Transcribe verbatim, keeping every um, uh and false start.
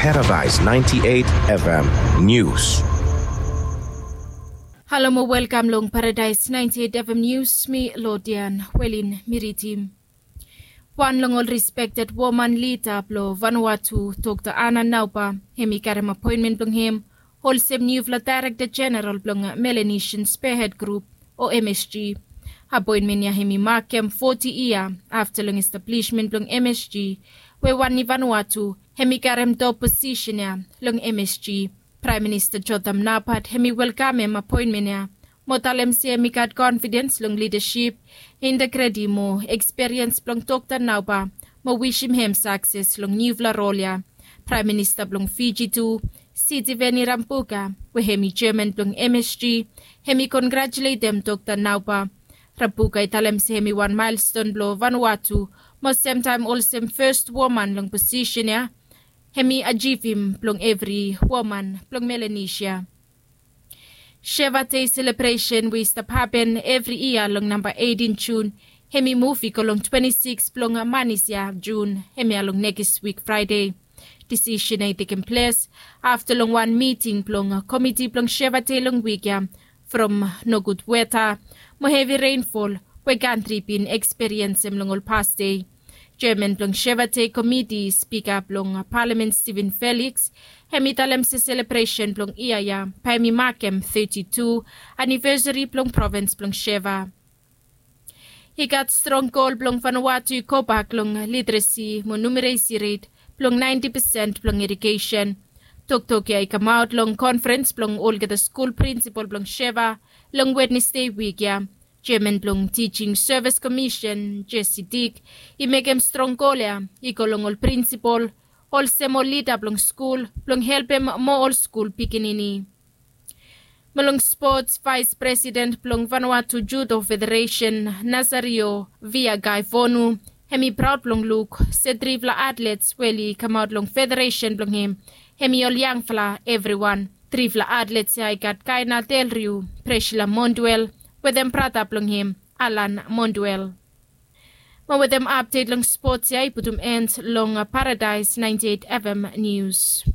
Paradise ninety-eight F M News. Halo mo welkam long Paradise ninety-eight F M News, mi Lodian Welin mi ridim. Wan long ol respekted woman lida blong Vanuatu, Dokta Ana Nauba, hem i karem apoenmen blong hem olsem niufala Daerekta Jeneral blong Melanesian Spearhead Group, o M S G. Apoenmen ya hem i makem foti yia afta long establishment blong M S G, we wan i Vanuatu hem i karem top posisen ya long M S G. Praem Minista Jotham Napat hem i welkamem apoenmen ya mo talem se hem i gat konfidens long lidasip, integriti mo ekspiriens blong Dokta Nauba, mo wisim hem sakses long niufala rol ya. Praem Minista blong Fiji tu, Sitiveni Rabuka, we hem i jeaman blong M S G, hem i kongratuletem Dokta Nauba. Rabuka i talem se hem i wan maelston blong Vanuatu, mo semtaem olsem fes woman long posisen ya, hem i ajivim blong evri woman blong Melanesia. Sheva Dei selebresen we i stap hapen evri yia long namba eitin Jun, hem i muv i go long twenti sikis blong manis ya Jun, hemia long nekis wik Fraede. Disisen ya i tekem ples afta long wan miting blong komiti blong Sheva Dei long wik ya, from nogud weta mo hevi reinfol we kantri bin ekspiriensem long ol pas dei. Jeaman blong Sheva Dei komiti, Spika blong Palamen Steven Felix, hem i talem se selebresen blong yia ya bae hem i makem teti tu anivesari blong provins blong Sheva. I gat strong gol blong Vanuatu i gobak long literesi mo numeresi ret blong naenti pesen blong irigesen. Toktok ya i kamaot long konferens blong olgeta skul prinsipol blong Sheva long Wednesde wik ya. Jeaman blong Tijing Sevis Komisen, Jesse Dick, i mekem strong gol ya i go long ol prinsipol olsem ol lida blong skul blong helpem moa ol skul pikinini. Mo long spots, Vaes Presiden blong Vanuatu Judo Federesen, Nazario Viagaifonu, hem i praod blong luk se trifala atlets we oli kamaot long federesen blong hem, hem i ol yangfala evriwan. Trifala atlets ya i gat Kaina Delriu, Presila Monduel, wetem brata blong hem, Alan Monduel. Mo wetem apdet long spots ya i putum en long Paradise ninety-eight F M News.